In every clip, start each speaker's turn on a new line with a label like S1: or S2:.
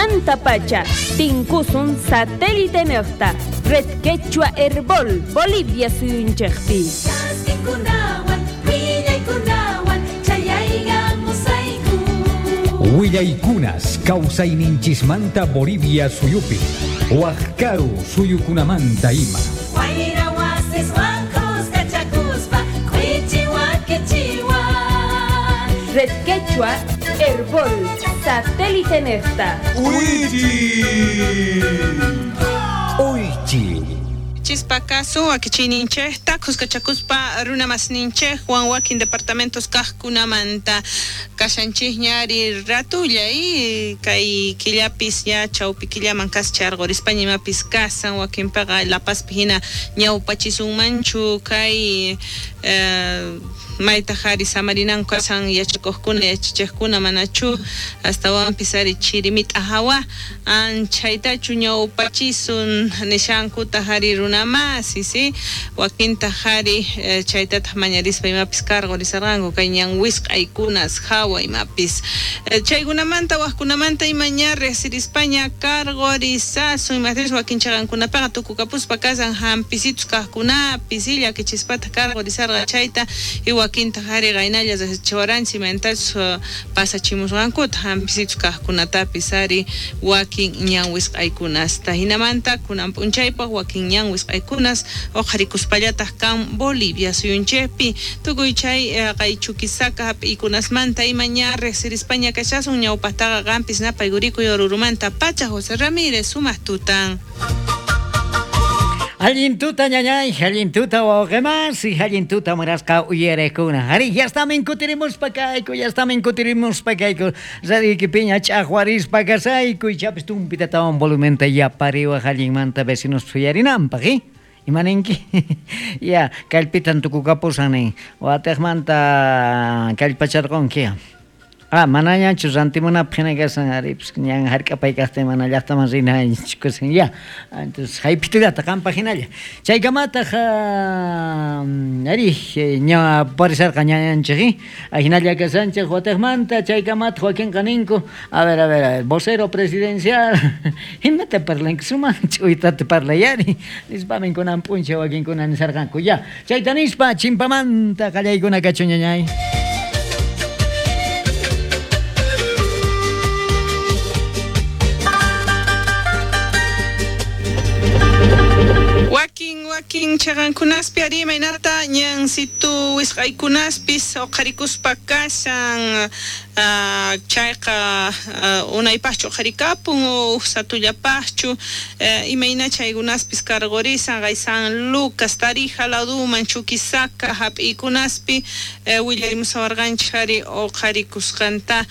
S1: Kaymantapacha tinkusun satélitenejta Red Quechua Herbol Bolivia suyunchejpi.
S2: Chaskikunawan, willaykunawan, chayaykamusayku.
S3: Willaykunas kawsayninchismanta Bolivia suyupi, wajkaru suyukunamanta ima.
S2: Wayra wasiswan khuskachakuspa, q'ichiwa kichiwa.
S1: Red Quechua Herbol satélitenejta.
S3: Uychi.
S4: Chispa kasu wakichiyninchejta khuskachakuspa runa masninchejwan wakin departamentos kajkunamanta kashanchikña ari ratulla y kay killapis ya chawpi killaman kascharqorispaña imapis kasan wakinpiqa La Pazpi hina ñawpachisunmanchu kay maytaj ari samarinanku kasan yachakuqkuna yachachiqkuna manachu astawanpis ari chirimit'a hawa anchaytachu ñawpachisun nishankutaj ari runa masi si wakintaj ari chaytataq mañarispa imapis karqorisarqanku kay ñan wisq'aykunas hawa imapis chaykunamanta wajkunamanta ima ña riqsirispaña karqorisasun imajtinchus wakin chaqankunapiqa tukukapuspa kasan hampisitus kajkunapis si llakichispataq karqorisarqa chayta y wakintaj ari qaynalla riqsichiwaranchik imaynatachus pasachimusqankuta hampisitus kajkunatapis ari wakin ñan wisq'aykunasta hinamanta kunan p'unchaypaq wakin ñan wisq'aykunas uqharikuspallataq kan Bolivia suyunchikpi tukuy chay qay Chuquisaca hap'iykunasmanta ima ña riqsirispaña kashasun ñawpaqtaqa qampis napaykurikuy Orurumanta pacha José Ramírez sumaq tutan.
S5: Allin tuta ñañay, allin tuta wawqimasi, allin tuta munasqa uyariqkuna. Ari, ya estamin kutirimuspa kayku, ya estamin kutirimuspa kayku. Radioykipiña ch'aqwarispa kasayku, ichapis tumpitatawan volumenta yapariwaq allinmanta vecinos uyarinanpaq, ¿eh? Imaninki? Ya, kallpitan tukukapusan nin. Watejmanta kallpacharqunki. Ah, manañachu rantimunapaq hina kasan, ari, pues, ñan hark'apay kaqtin mana llaqtaman rinachu kasan, ya. Entonces, haypitullata qampaq hinalla. Chaykamataq, ari, ña parisarqa ñañanchik, ¿eh? Ahinalla kasanchik watejmanta, chaykamataq wakinqa ninku, a ver, a ver, a ver, vocero presidencial, imata parlanki, sumaq ch'uytata parlayari, nispamin kunan p'unchay wakinkuna nisarqanku, ya. Chayta nispa, chimpamanta qallaykuna kachun ñañay.
S4: Wakin, wakin chaqankunaspi ari imaynata ñansitu wisq'aykunaspis uqharikuspa kashan, chayqa unaypaqchu uqharikapun o uj satullapaqchu, imayna chaykunaspis karqurisan qay San Lucas, Tarija laduman, Chuquisaca hap'iykunaspi willarimusawarqanchik ari uqharikusqanta,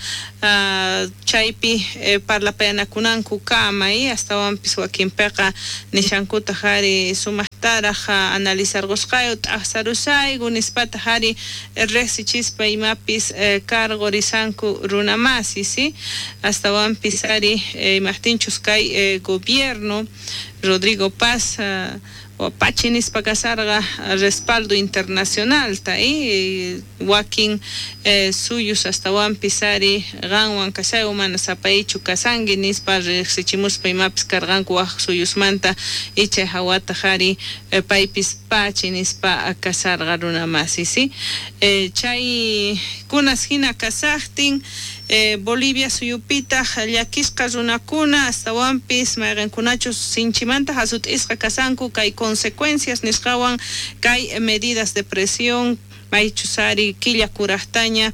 S4: chaypi parlapayanakunanku kama, astawanpis wakinpiqa nishankutaq ari sumaqtaraq analizarqusqayku t'aqsarusayku nispataq ari riqsichispa imapis karqurisanku runa masi, si astawanpis ari imajtinchus kay gobierno Rodrigo Paz pachi nispa kasarqa respaldo internacionalta, wakin suyus astawanpis ari qanwan kasayku mana sapaychu kasanki nispa riqsichimuspa imapis karqanku waj suyusmanta y chay hawataq ari paypis pachi nispa kasarqa runa masi, si chay kunas hina kasaqtin Bolivia suyupitaq llakisqa runakuna astawanpis mayqinkunachus sinchimanta hasut'isqa kasanku kay consecuencias nisqawan kay medidas de presión maychus ari killa kuraqtaña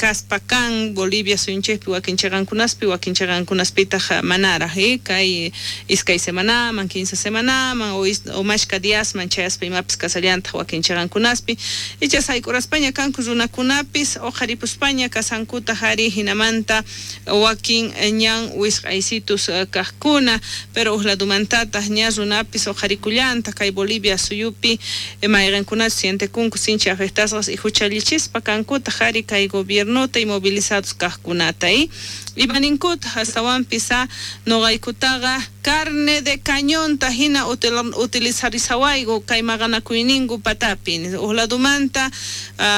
S4: kaspa kan Bolivia suyunchikpi wakin chaqankunaspi wakin chaqankunaspitaq manaraq, kay iskay semanaman, 15 semanaman o mashka diasman chayaspa imapis kasallantaq wakin chaqankunaspi icha sayk'uraspaña kanku runakunapis uqharipuspaña kasankutaq ari hinamanta wakin ñan wisq'aysitus kaqkuna pero uj ladumantataq ña runapis uqharikullantaq kay Bolivia suyupi mayqinkunachus sientekunku sinchi afectados Afectasqas y huchallichispa kankutaq ari kay gobiernota y movilizados kajkunata y imaninkutaj astawanpis noqaykutaqa carne de cañonta hina utilizarisawayku kay maqanakuyninku patapi uj ladumanta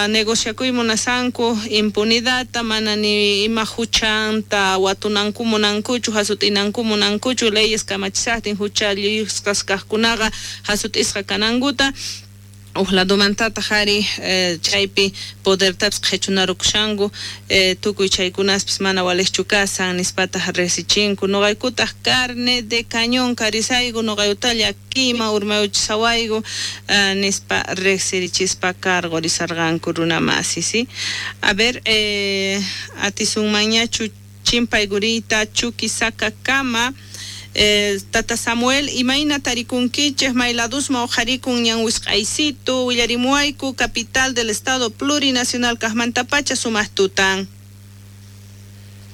S4: negociakuy munasanku impunidadta mana ni ima huchanta watunanku munankuchu hasut'inanku munankuchu leyes kamachisaqtin huchallisqas kajkunaqa hasut'isqa kanankuta uj ladumantataq ari chaypi podertapis qhichunarukushanku tukuy chaykunaspis mana waliqchu kasan nispataq riqsichinku noqaykutaq carne de cañón karisayku noqayutalla kima urmayuchisawayku nispa riqsirichispa cargorisarqanku runamasi ¿sí? A ver, atisunmanñachu chimpayguriyta Chuquisaca kama. Tata Samuel, imayna tarikunkichej mayladusma uqharikun ñan wisq'aysitu willarimuwayku capital del estado plurinacional kajmantapacha sumaq tutan.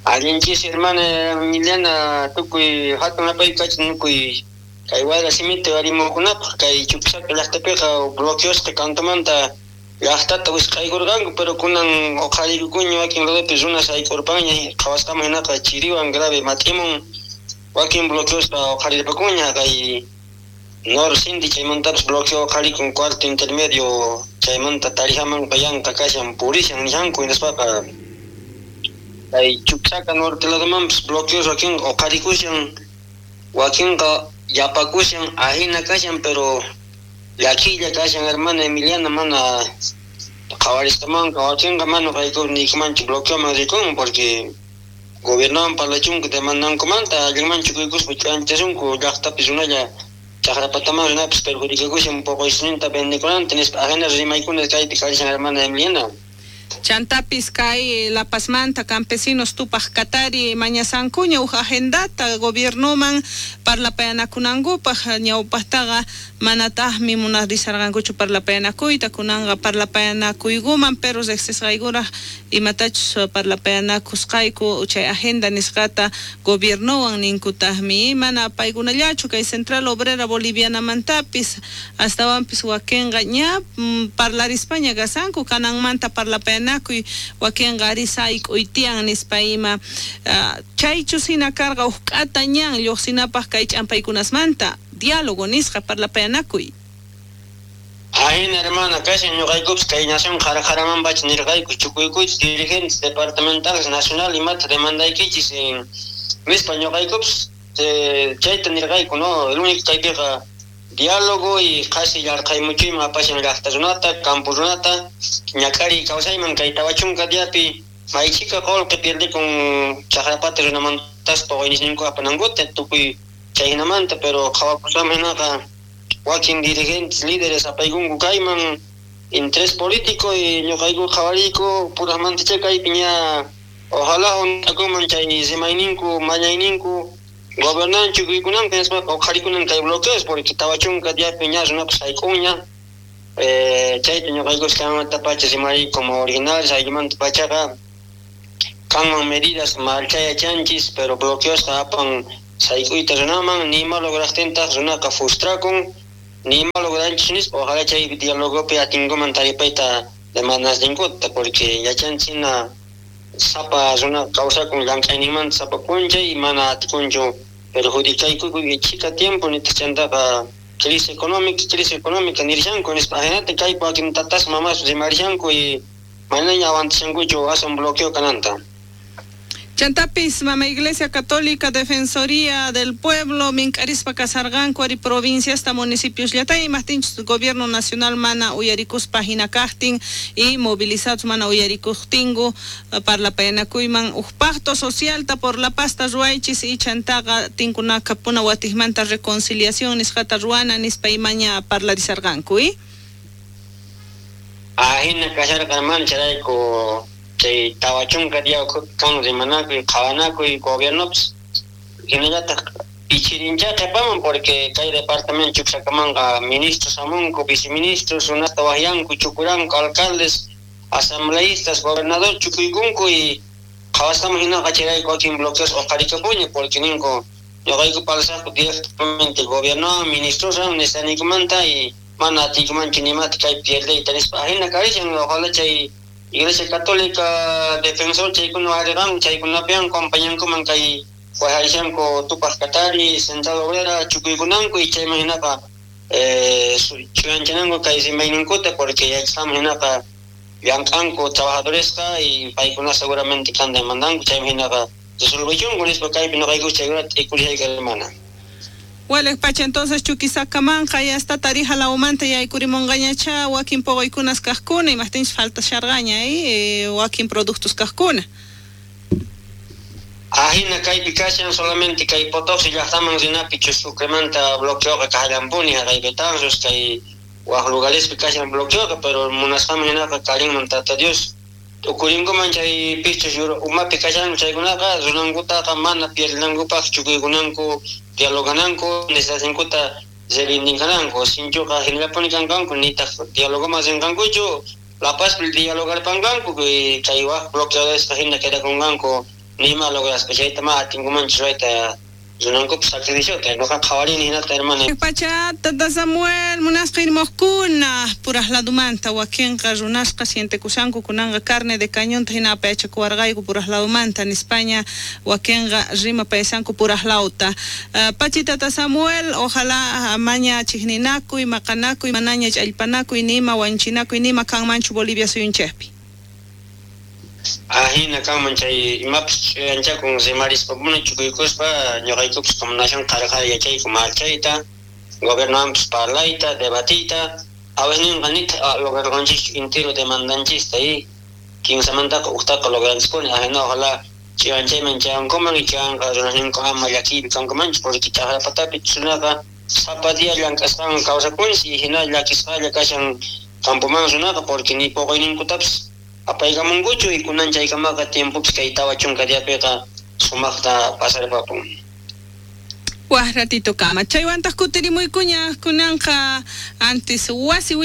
S6: Allinchis hermana Emiliana tukuy hatun apaykacha nukuy kay wayra simita warimukunapaq kay Chuquisaca llaqtapiqa bloqueosqa kantumanta llaqtata wisq'aykurqanku pero kunan uqharikukuña wakin ladopi runas aykurpanña qhawasqaman hinaqa chiriwan grave mat'imun wakin bloqueosqa uqharirpakuña kay Norcindy chaymantapas bloqueo uqharikun cuarto intermedio chaymanta Tarijamanqa yanqa kashan purishan nishanku hinaspaqa kay Chuquisaca norte ladomanpas bloqueos wakinqa uqharikushan wakinqa yapakushan ahina kashan pero llakilla kashan hermana Emiliana mana qhawarisqamanqa wakinqa mana qayku niykumanchu bloqueoman rikun porque gobiernowan parlachunku demandankumanta allinmanchu kuykuspa ch'anchasunku llaqtapi runalla chaqrapataman runapis perjudicakushan poqoyninta vendekunanta nispa ahina rimaykuna kaypi karishan hermana Emiliana.
S4: Chantapis kay La Pazmanta campesinos tupaj katari mañasankuña uj agendata gobiernoman parlapayanakunankupaj ñawpajtaqa manataqmi munarisarqankuchu parlapayanakuyta kunanqa parlapayanakuykuman pero riqsisqaykuraq imatachus parlapayanakusqayku chay agenda nisqata gobiernowan ninkutaqmi mana paykunallachu kay Central Obrera Bolivianamantapis astawanpis wakinqa ña parlarispaña kasanku kananmanta parlapayanakuy wakinqa ari sayk'uy nispa ima chaychus hina karqa uj k'ata ñan lluqsinapaq kay ch'ampaykunasmanta diálogo nisqa parlapayanakuy.
S6: Ahina hermana kashan ñuqaykupis kay nación qhara-qharamanpacha nirqayku chukuykuchis dirigentes departamentales nacional imata demandaykichis nispa ñuqaykupis chayta nirqayku no el único kaypiqa diálogo y qhasi yarqhaymuchuyman apashan llaqta runata campo runata ñak'ariy kawsayman kay 40 diapi maychika qullqi pierdikun chaqrapata runamantas poqoynisninku apanankuta tukuy chayhinamanta pero qhawakusqaman hinaqa wakin dirigentes líderes apaykunku kayman interés político y ñuqayku qhawariyku purajmantacha kaypi ña ojalá hunt'akunman chay rimayninku mañayninku gobernanchu kuykunanku nispaqa uqharikunan kay bloqueos porque 40 diapi ña runapas sayk'unña chayta ñuqaykus kaymantapacha rimariyku como originales ayllumanta pachaqa kanman medidas marchayachanchis pero bloqueosqa apan sayk'uyta runaman nima lograqtintaq runaqa frustrakun nima logranchis nispa ojalá chay dialogopi atinkuman taripayta demandasninkuta porque yachanchis hina sapa runa kawsakun llank'ayninmanta sapa p'unchay mana atikunchu perjudicayku chika tiempo nitaq chantaqa crisis económica nirishanku nispa ahinata kaypi wakin tatas mamas rimarishanku y manaña aguantashankuchu aswan bloqueo kananta.
S4: Chantapis, Mama Iglesia Católica, Defensoría del Pueblo, mink'arispa kasarqanku ari provincia hasta municipios llatay imajtinchus gobierno nacional mana uyarikuspa hina kajtin y movilizados mana uyarikuqtinku parlapayanakuyman uj pacto socialta por la pasta ruwaychis y chantaqa tinkunaka puna watijmanta reconciliación nisqata ruwana nispa imaña parlarisarqanku y
S6: ahina kasharqa hermano chayrayku chay 40 día kan rimanakuy qhawanakuy gobiernopis hinallataq ichirincha qhipaman porque kay departamento Chuquisacamanqa ministros hamunku viceministros runata waqyanku chukuranku alcaldes asambleístas gobernador chukuykunku y qhawasqaman hinaqa chayrayku wakin bloqueos uqharikapuña porque ninku ñuqayku parlasaqku directamente gobiernowan ministroswan nisqaniykumanta y Mana atiykumanchu nimata kay pierdeyta nispa ajina karishan ojalá chay Iglesia Católica defensor chaykuna ariqan chaykunapiwan compañankuman kay wajarishanku Tupaj Katari Central Obrera chukuykunanku y chayman hinaqa chuyanchananku kay rimayninkuta porque yachasqanman hinaqa llank'anku trabajadoresqa y paykuna seguramente kan demandanku chayman hinaqa resolvechunku nispa kaypi noqayku chaykunata t'ikurishayku hermana.
S4: Walej pacha entonces Chuquisacamanqa ya está Tarija lawmanta yaykurimunqañacha wakin poqoykunas kaqkuna imaqtinchus falta sharqaña wakin productos kaqkuna.
S6: Ajina kaypi kashan solamente kay Potosí llaqtaman rinapi Sucremanta bloqueoqa kallampuni haqay Betanzos kay waq lugarespi kashan bloqueoqa pero munasqanman hinaqa karinman Tata Dios tukurinkuman chay pichus umapi kashanku chaykunaqa runankutaqa mana pierdinankupaq chukuykunanku dialogananku necesidadninkuta reivindicananku sinchuqa hinallapuni kanqanku nitaq dialogoman rinqankuchu La Pazpi dialogarpanqanku chay waq bloqueadosqa hina quedakunqanku nima lograspa chayta ma atinkumanchu ruwayta runankupas sacrificiota noqa qhawarini hinata hermana.
S4: Pacha tata Samuel munasqa irmojkuna puraj ladumanta wakinqa runasqa sientekushanku kunanqa carne de cañonta hina apayachakuwarqayku puraj ladumanta nispaña wakinqa rimapayashanku puraj lawta. Pachi tata Samuel ojalá maña chijninakuy maqanakuy manaña ch'allpanakuy nima wanchinakuy nima kanmanchu Bolivia suyunchikpi.
S6: Ajina kanman chay imapis ch'uyanchakun rimarispa chukuykuspa ñuqaykupas como nación qhari qhari yachayku marchayta gobiernowanpis parlayta debatiyta a veces ninqa nitaq lograrqanchikchu entero demandanchista y kinsamantaqa ujtaqa logranchispuni ajina ojalá ch'uyanchayman chayankuman y chayanqa runasninku ama llakiypi kankumanchu porque chaqrapatapi runaqa sapa día llank'asqanwan kawsakunchis y hina llakisqalla kashan campoman runaqa porque ni poqoyninkutapis apaykamunkuchu y kunan chaykamaqa tiempopis kay 40 diapiqa sumaqta pasarpapun.
S4: Waj ratito kama chaywantaq kutirimuykuña kunanqa antes wasi willa